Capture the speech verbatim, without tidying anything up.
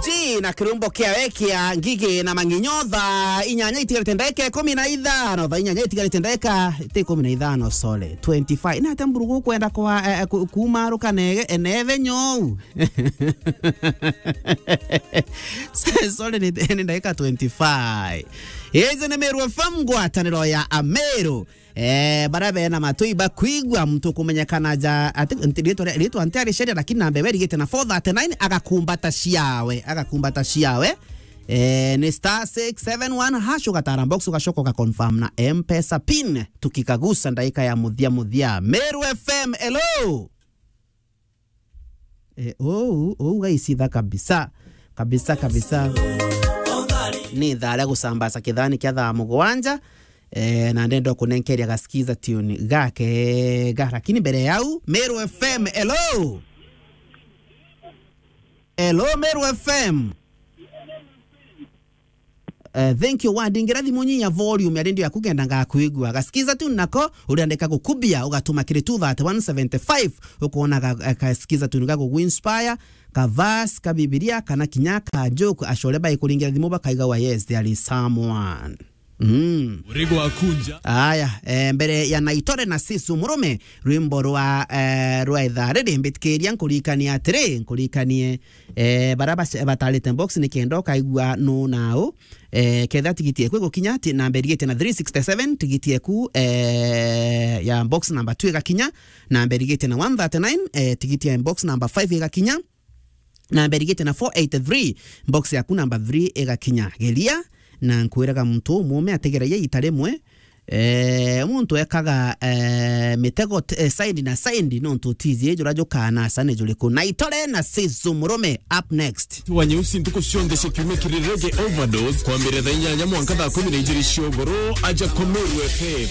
Chi na kirumbo kiawe kia Ngigi na Mang'inyo, thaa inyanya itigarite ndagika ikumi na ithano, thaa inyanya itigarite ndagika, ti ikumi na ithano, sorry, twenty-five. Ni atia mburugu ukwenda kwa, eh, ku-, kuumaruka nege-, enethe nyou? Sorry, ni, ni ndagika twenty-five. Iji ni Meru F M, ngwataniro ya Ameru. Eh, bara bena matu ibakwigua, muntu kumenyekana ja, ati, nti-, ritwa ria, ritwa ntiari sheria, lakini namba iwe irigite na four thirty-nine, agakumbata ciawe, agakumbata ciawe. Eh, ni star six seven one hash, ugatara box, ugacoka ugaconfirm na M-Pesa pin. Tukikagusa ndaika ya muthia muthia. Meru F M, hello. Eh, ou, ou gaicitha kabisa. Kabisa, kabisa. Ni thaa ria gucambasa kithani kia thaa mugwanja. Eh, na ndenda kunenkeria gasikiza tune gake ga. Lakini mbere yau, Meru F M, hello. Hello, Meru F M. Eh, thank you, Wadi. Ngira thimu nyinya volume ya redio yaku, ngenda ngakwigua. Gasikiza tu nako, uriandika gukubia, ugatuma kiri two thirty-one seventy-five, ukona ga-, eh, gasikiza tu ni gagugu inspire, ka verse, ka Bibilia, kana kinya ka joke, acore baikuringira thimu bakaiga wa, yes, there is someone. Mm. Urigo akunja. Aya, eh, mbere ya Naitore na Sisu Murume, rwimbo rwa, eh, rwa ithaa riri, mbitikiria nkurikanie atiri, nkurikanie, eh, bara bac-, batarite box ni kenda ukaigua nu na u. Eh, ketha tigiti eku igukinya, ti-, namba irigite na three sixty-seven, tigiti eku, eh, ya box number two igakinya, namba irigite na one thirty-nine, eh, tigiti ya box number five igakinya, namba irigite na four eighty-three, box yaku number three igakinya. Geria, na nkwiraga muntu umume ategeragia ita rimwe, Eh, muntu ekaga, eh, mitego t-, eh, side na side, nontu utiiji jura jukanasa ni juriku. Naitore na Sisu Murume up next. Wa Nyeusi ntuku cionthe cia kiumia kiri Reggae Overdose, kwambiriria thaa inyanya mwanka thaa kumi na ijiri cia ugoro, aja kwa Meru F M.